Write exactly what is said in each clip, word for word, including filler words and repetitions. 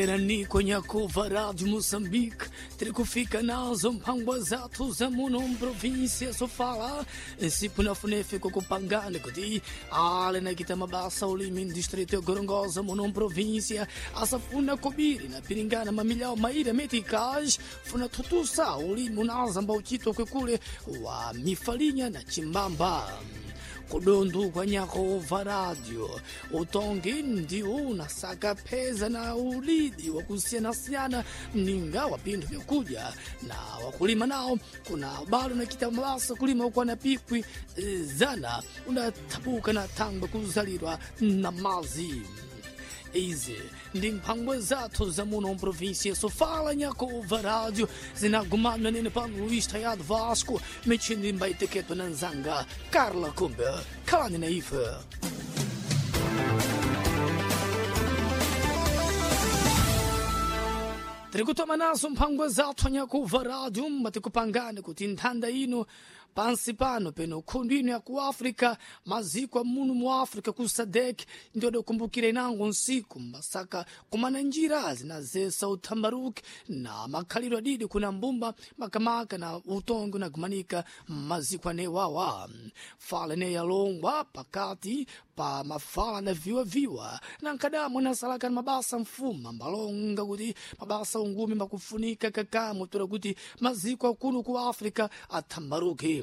Niko Nhakova Rádio Moçambique, trikufika nazo mphangwa zathu za muno mprovíncia sofala nsipu na funefe kukupangana kuti ale nakita mabasa ulimi distrito ya Gorongosa muno mprovíncia asafuna kobiri na piringana mamilhau maíra meticais funa tutusa ulimi unazamba uchito kwekule wa mifalinha na chimbamba kudundu kwa Nhakova Radio utongi ndiwo unasaka peza na ulidi wa kusiyana-siyana ninga wa pinthu vyakudya na wakulima nawo kuna balo nakita mabasa kulima ukwana pikwi eh, zana unathabuka na thangwe kuzalirwa na mazi. Izi ndi mphangwa zathu za muno mprovíncia Sofala Nhakova Rádio zinagumana nene pano Luís Tayado Vasco mechindi mbaiteketo na nzanga Carla Kumbe khalani na ife. Tirikutoma nazo mphangwa zathu Nhakova Rádio matikupangani kuti nthanda ino pansi pano peno khundu ino ya ku África maziko a muno mu África ku SADC ndio adakumbukira inango nsiku masaka kumana njira zinazesa uthambaruki na makhalidwe adidi kuna mbumba makamaka na utongi unagumanika maziko anewawa fala ne yalongwa pakati pa mafala na viwaviwa na nkadamo nasalaka na mabasa mfuma mbalonga kuti mabasa ungumi makufunika kakamo tora kuti maziko akuno ku África athambaruke.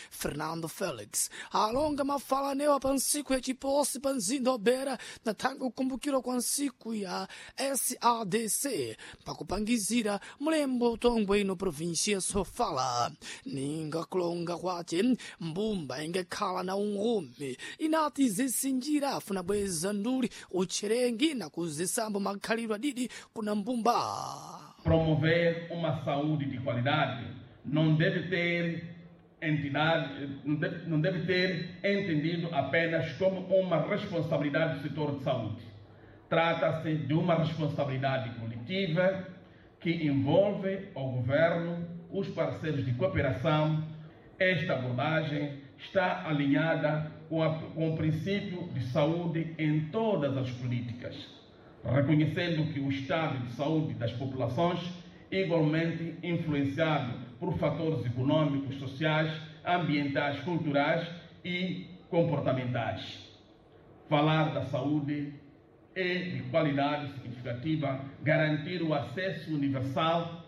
Fernando Felix alonga mafala anewa pa nsiku ya chiposi pa mzinda wa Beira na thanga kukumbukirwa kwa nsiku ya S A D C pakupangizira mlembo utongwe ino província Sofala ninga kulonga kwace mbumba ingakhala na ungumi inati zisinjira afuna bweza nduli utcherengi na kuzisambo makhalidwe adidi kuna mbumba. Promover uma saúde de qualidade não deve ter entidade, não deve, não deve ter entendido apenas como uma responsabilidade do setor de saúde. Trata-se de uma responsabilidade coletiva que envolve o governo, os parceiros de cooperação. Esta abordagem está alinhada com, a, com o princípio de saúde em todas as políticas, reconhecendo que o estado de saúde das populações, igualmente influenciado por fatores econômicos, sociais, ambientais, culturais e comportamentais. Falar da saúde é de qualidade significativa, garantir o acesso universal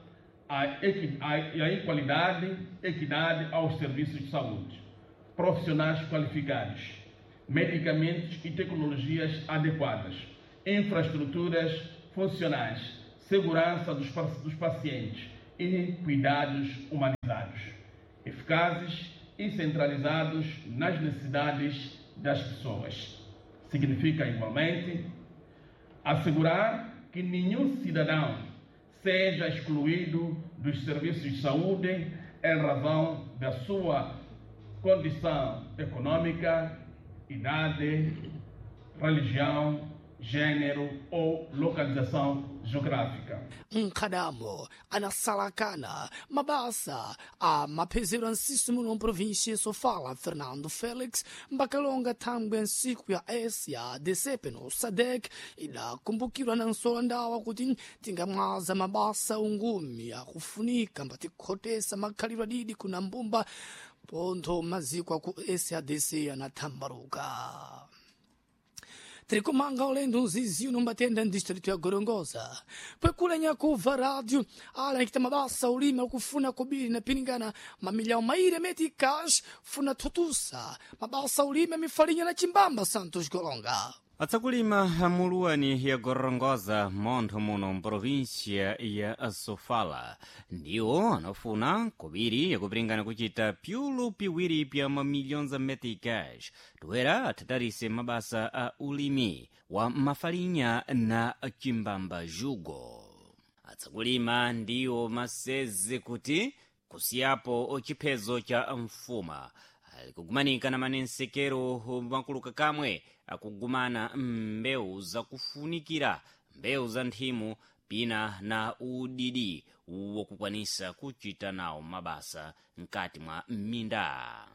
à equalidade, equidade aos serviços de saúde, profissionais qualificados, medicamentos e tecnologias adequadas, infraestruturas funcionais, segurança dos, dos pacientes e cuidados humanizados, eficazes e centralizados nas necessidades das pessoas. Significa, igualmente, assegurar que nenhum cidadão seja excluído dos serviços de saúde em razão da sua condição econômica, idade, religião, gênero ou localização geográfica. Nkadamo anasalakana mabasa a maphezero ansisu muno mprovíncia Sofala Fernando Felix mbakalonga thangwe nsiku ya S A D C peno SADC idakumbukirwa na nsola ndawa kuti tingamwaza mabasa ungumi akufunika mbatikhotesa makhalidwe adidi kuna mbumba pontho maziko aku S A D C anathambaruka. Tirikumanga ulendo nzizi numbatenda distrito ya Gorongosa pwekula Nhakova Rádio ala nikita mabasa ulima kufuna kobiri na piringana mamilhau maíra meticais funa tutusa mabasa ulima mifalinha na chimbamba Santos Golonga. Atsakulima muluwani ya Gorongosa montho muno mprovíncia ya Sofala ndiwo anafuna kobiri yakupiringana kuchita pyulu piwiri pya mamilhões a meticais toera athatarise mabasa a ulimi wa mafalinha na chimbamba jugo. Atsakulima ndiwo maseze kuti kusiyapo chiphezo cha mfuma alikugumanika na manensekero makuluka kamwe akugumana mbewu zakufunikira mbewu za nthimu pina na udidi wokukwanisa kuchita nawo mabasa mkati mwa minda.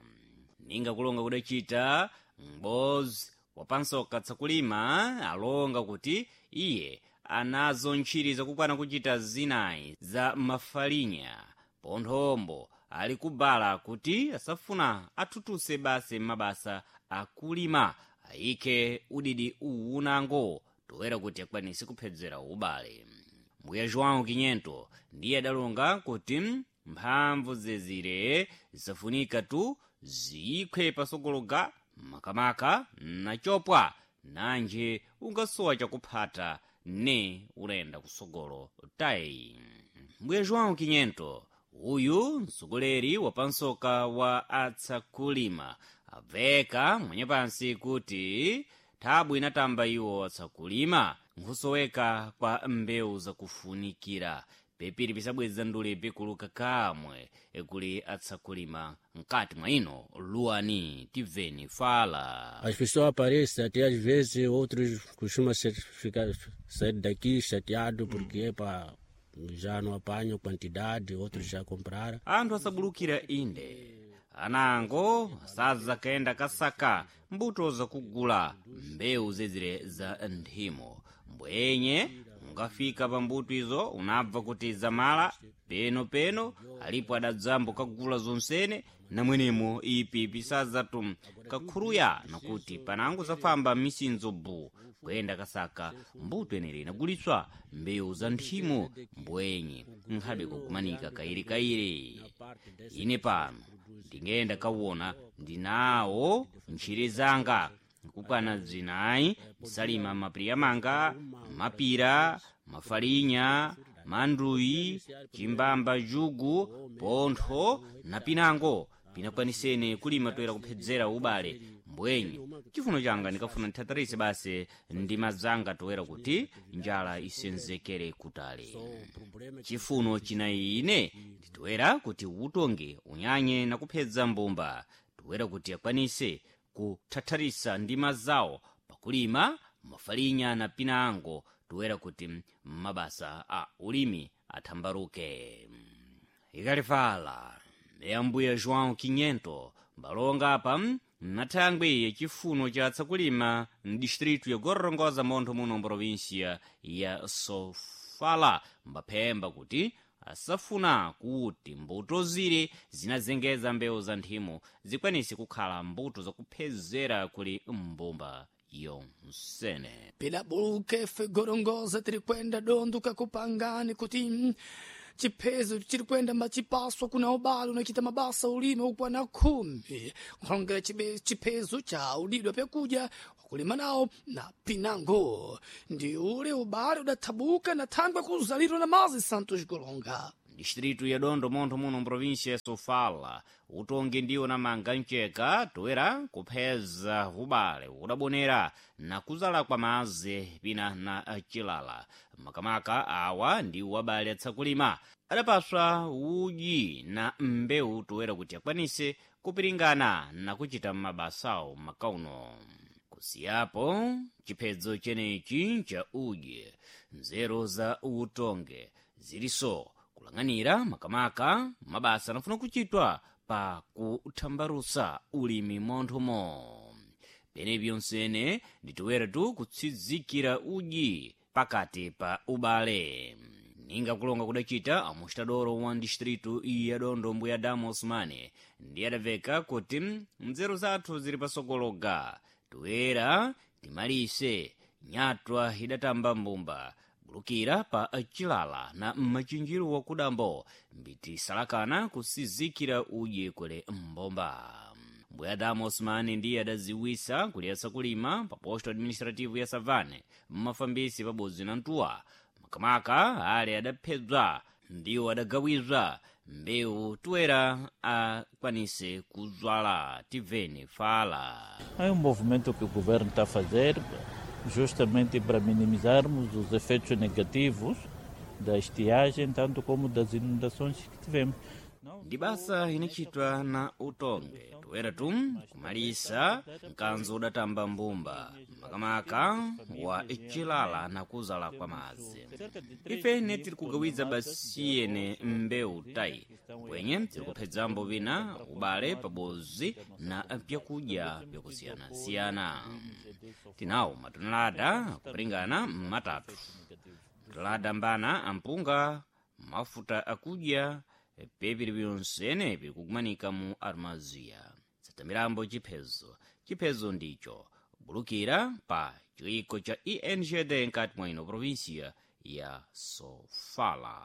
Ninga kulonga kudacita m'bozi wapansoka tsakulima alonga kuti iye anazo ntchiri zakukwana kuchita zinayi za mafalinya ponthombo ali kubala kuti asafuna athuthuse basi mabasa akulima ayike udidi uwunango toera kuti akwanise kuphedzera ubale. Mbuya João Quinhento ndiye adalonga kuti mphamvu zezire zisafunika tu ziyikhwe pasogologa makamaka nachopwa nanje ungasowa chakuphata ne ulenda kusogolo tayi. Mbuya João Quinhento uyu mtsogoleri wapansoka wa atsakulima abveka mwenyepansi kuti thabu inatamba iwo atsakulima nkhusoweka kwa mbewu zakufunikira pepiri pisabweza ndule pikuluka kamwe kuli atsakulima mkati mwa ino luwani tibveni fala. As pessoas aparecem, até às vezes outros costumam ser, ficar, sair daqui chateado porque epa, já não apanham quantidade, outros já compraram. Anthu asabulukira inde anango asadza kayenda kasaka mbuto zakugula mbewu zezire za nthimo mbwenye ungafika pa mbuto izo unabva kuti zamala peno-peno alipo adadzambo kagula zonsene namwenemo ipi pisadzatu kakhuruya nakuti panango zafamba misinzo bu kuyenda kasaka mbuto enere inagulitswa mbewu za nthimo mbwenye nkhabe kukumanika kairikairi. Ine pano ndingenda kawona ndinawo ntchire zanga nkukwana zinayi ndisalima mapiriya manga mapira mafalinya manduyi chimbamba jugu pontho na pinango pinakwanisene kulima toera kuphedzera ubale mbwenye chifuno changa ndikafuna ndithatharise basi ndi mazanga toera kuti njala isenzekere kutali. Chifuno chinayi ine nditoera kuti utonge unyanye na kuphedza mbumba toera kuti akwanise kuthatharisa ndi mazawo pakulima mafalinya na pinango toera kuti mabasa a ulimi athambaruke. Ikalifala yambuya João Quinhento mbalonga apa nathangwi yachifuno cha tsakulima mdistritu ya Gorongosa montho muno mprovinsia ya Sofala mbaphemba kuti asafuna kuti mbuto zire zinazengeza mbewu za nthimo zikwanise kukhala mbuto zakuphezera kuli mbumba yonsene. Pela buluka Gorongosa tiri kwenda dondo kakupangani kuti chiphezo chiri kwenda machipaswa kuna ubale unachita mabasa ulime ukwana khumi nkhongera chiphezo cha udidwa pyakudya wakulima nawo na pinango ndi ule ubale udathabuka na thangwe kuzalirwa na mazi Santos Golonga. Distritu ya Dondo montho muno mprovinsia ya Sofala utongi ndiwo namanga mceka toera kupheza ubale udabonera na kuzala kwa mazi pina na chilala makamaka awa ndiwo abale atsakulima adapaswa udyi na mbewu toera kuti akwanise kupiringana na kuchita mabasawo makauno. Kusiyapo chiphedzo chenechi cha udyi nzeru za utonge ziliso kulang'anira makamaka mabasa anafuna kuchitwa pa kuthambalusa ulimi monthomo. Pene pyonsene nditoera tu kutsidzikira udyi pakati pa ubale. Ninga kulonga kudachita amuxitadoro wa distritu ya Dondo mbuya Damo Osmane ndiye adabveka kuti nzeru zathu zili pasogologa toera timalise nyatwa idatamba mbumba bulukira pa chilala na machinjiro wakudambo mbitisalakana kusizikira udye kule mbomba. Mbuya Adamu Osmani ndiye adaziwisa kuliyesa kulima pa posto administrativo ya Savane mmafambisi pabodzi na Ntuwa makamaka ale adaphedzwa ndiwo adagawizwa mbewu toera akwanise kuzwala tibveni fala. É um movimento que o governo está a fazer justamente para minimizarmos os efeitos negativos da estiagem, tanto como das inundações que tivemos. Ndi basa inachitwa na utonge toera tu kumalisa mkanzo udatamba mbumba makamaka wa chilala na kuzala kwa madzi. Ifene tiri kugawiza basiyene mbewu tayi kwenye tiri kuphedzambo vina ubale pabozi na pyakudya pyakusiyanasiyana. Tinawo matonelada kupringana matatu matonelada mbana ampunga, mafuta akudya, pepiri pyonsene pirikukumanika mu armaziya. Satamirambo chiphezo chiphezo ndicho bulukira pa chiwiko cha E N G D nkati mwa ino provinsia ya Sofala.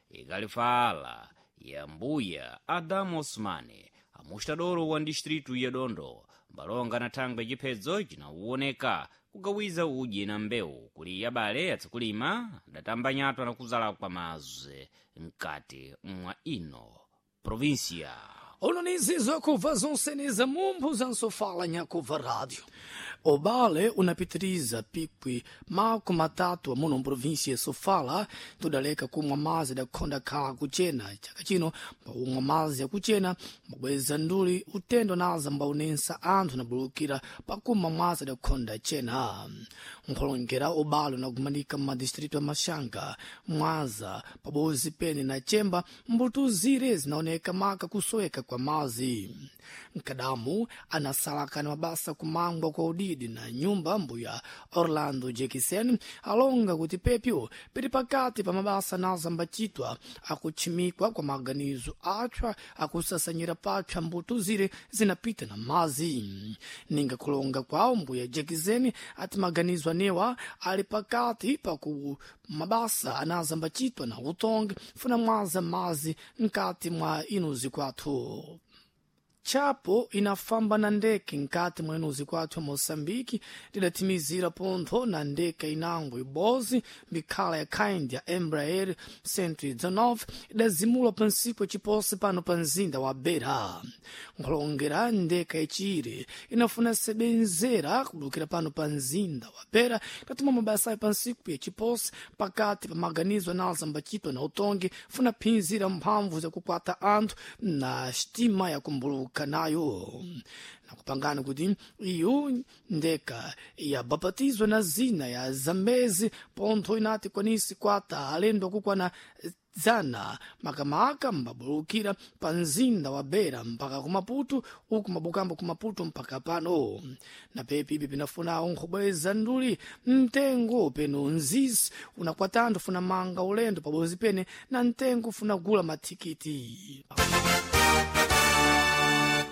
Ikalifala ya mbuya Adamu Osmani, amustadoro wa distritu ya Dondo, mbalonga na thangwe chiphedzo cinawoneka kugawiza udyi na mbewu kuli yabale yatsikulima adatambanyatwa na kuzala kwa mazwe mkati mwa ino provinsia. Uno nizizo kuva zonseneza mumbu zansofala nyakuva rádio. Obale unapitiriza pikwi mako matatu amuno mprovinsia ya Sofala tudaleka kumwa mazi dakhonda khala kuchena chaka chino mbaumwa mazi yakuchena mbabweza nduli utendo naza mbaunensa anthu nabulukira pakumwa mwazi dakhonda chena. Nkholongera ubale unagumanika mmadistritu ya Maxanga, Mwaza pabozi pene na Chemba, mbuto zire zinaoneka maka kusoweka kwa mazi. Mkadamu anasalakana mabasa kumangwa kwa udidi na nyumba, mbuya Orlando Jekisen, alonga kuti pepyo pili pakati pa mabasa naza mbachitwa akutchimikwa kwa maganizo atchwa akusasanyira patchwa mbuto zire zinapita na mazi. Ninga kulonga kwawo, mbuya Jekisen ati maganizo anewa ali pakati paku mabasa anaza mbachitwa na utongi funa mwaza mazi nkati mwa inuzi kwathu. Chapo inafamba na ndeke nkati mwa inuzi kwathu ya Moçambique lidatimizira pontho na ndeke inango ibozi mbikhala ya kind ya Embraer cento e dezenove idazimula pa ntsiku yaciposi pano pa mzinda wa Beira. Nkhulongera ndeke yacire inafuna sebenzera kubulukira pano pa mzinda wa Beira idatuma mabasayo pa ntsiku yaciposi pakati pa maganizo anaza mbachitwa na utongi funa phinzira mphamvu zakukwata anthu na sitima yakumbuluka nayo. Nakupangana kuti iyo ndeka yabapatizwa na zina ya Zambezi pontho inati kwanisi kwata alendo kukwana dzana makamaka mbabulukira pa mzinda wa Beira mpaka ku Maputo, uku mabukambo ku Maputo mpaka pano. Na pepi ipi pinafunawo nkhobweza nduli mtengo peno nzisi unakwatanthu funa manga ulendo pabozi pene na mtengo funa gula mathikiti.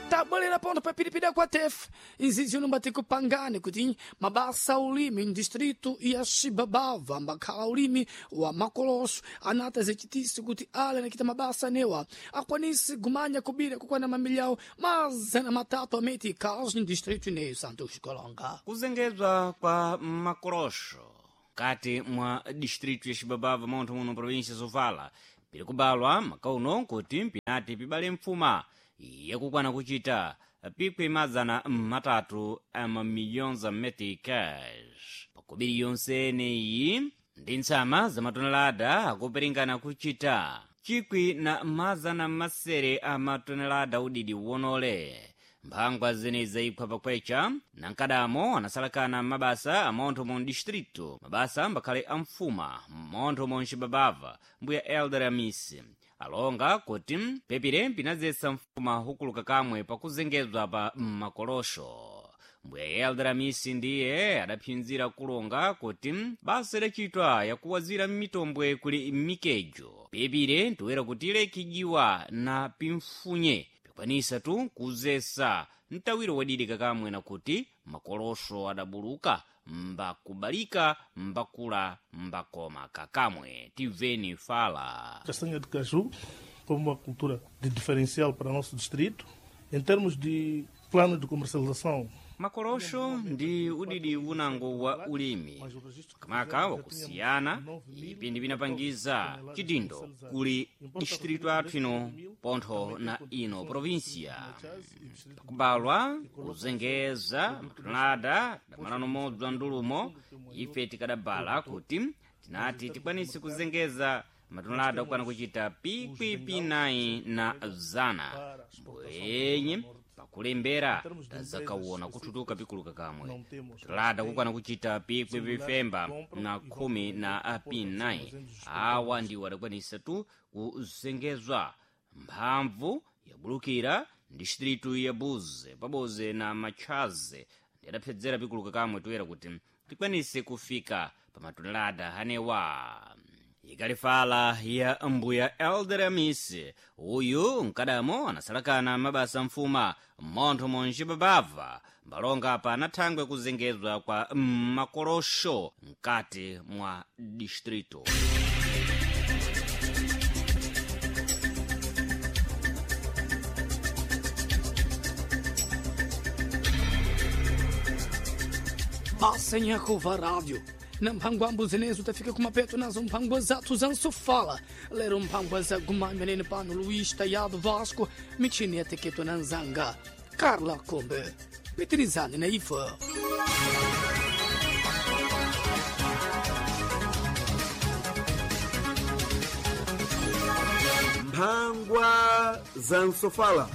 Tabwelera ponto pa piripiri kwa tefe izizi uno kupangane kuti mabasa ulimi mdistritu ya Xibabava mbakhala ulimi wa makoloso anata zechitisi kuti ale anakita mabasa anewa akwanisi gumanya kubira kukwana mamilyawo mazana matatu ameti kazi mdistritu ineyo Santos Xikolonga. Kuzengezwa kwa makorosho kati mwa distritu ya Xibabava montho muno provinsia Sofala pili kubalwa makauno kuti mpinati pibale mfuma yakukwana kuchita pikwi mazana matatu a mamilhões a meticais pakubiri yonse eneyi ndi ntsama za matonelada akuperingana kuchita chikwi na mazana masere a matonelada udidi wonole. Mphangwa zene zayiphwa pakwecha na nkadamo anasalakana mabasa amontho mu distritu, mabasa mbakhale amfuma montho mu Xibabava, mbuya Elder Amisi alonga kuti pepire mpinazesa mfuma hukuluka kamwe pakuzengezwa pa makolosho. Mbuya Elder Amisi ndiye adaphinzira kulonga kuti basa idachitwa yakuwazira mitombwe kuli mikejo pepire ntoera kuti ilekijiwa na pimfunye pikwanisa tu kuzesa mtawiro wadidika kamwe na kuti makolosho adabuluka mbakubalika mbakula mbakoma kakamwe. Tiveni fala. Castanha de caju como uma cultura de diferencial para o nosso distrito. Em termos de plano de comercialização, Makolosho ndi udidi unango wa ulimi kamaka wakusiyana ipi ndi pinapangiza chidindo kuli distritu athu ino pontho na ino provinsia pakubalwa kuzengeza matonelada damalano modzi wa ndulumo. Ife tikadabala kuti tinati tikwanise kuzengeza matonelada okwana kuchita pikwi nayi na zana mbwenye pakulembera tazakawona kuthutuka pikuluka kamwe tonelada kukwana kuchita pikwi pifemba na khumi na pinayi awa ndiwo adakwanisa tu kuzengezwa mphamvu yabulukira distritu ya Buze paboze na Machaze ndi adaphedzera pikuluka kamwe toyera kuti tikwanise kufika pa matonelada anewa. Ikalifala ya mbuya Elder Amisi uyu mkadamo anasalakana mabasa mfuma mmontho monji babava mbalonga apa anathangwe kuzengezwa kwa makolosho mkati mwa distrito. Basa Rádio. Na mphangwambo zenezo tafika kumapeto nazo mphangwa zathu zansofala lero mphangwa za gumamene pano Luís Tayado Vasco michini yateketwa na nzanga Carla Kombe pitirizani na ifa. Mphangwa za nsofala.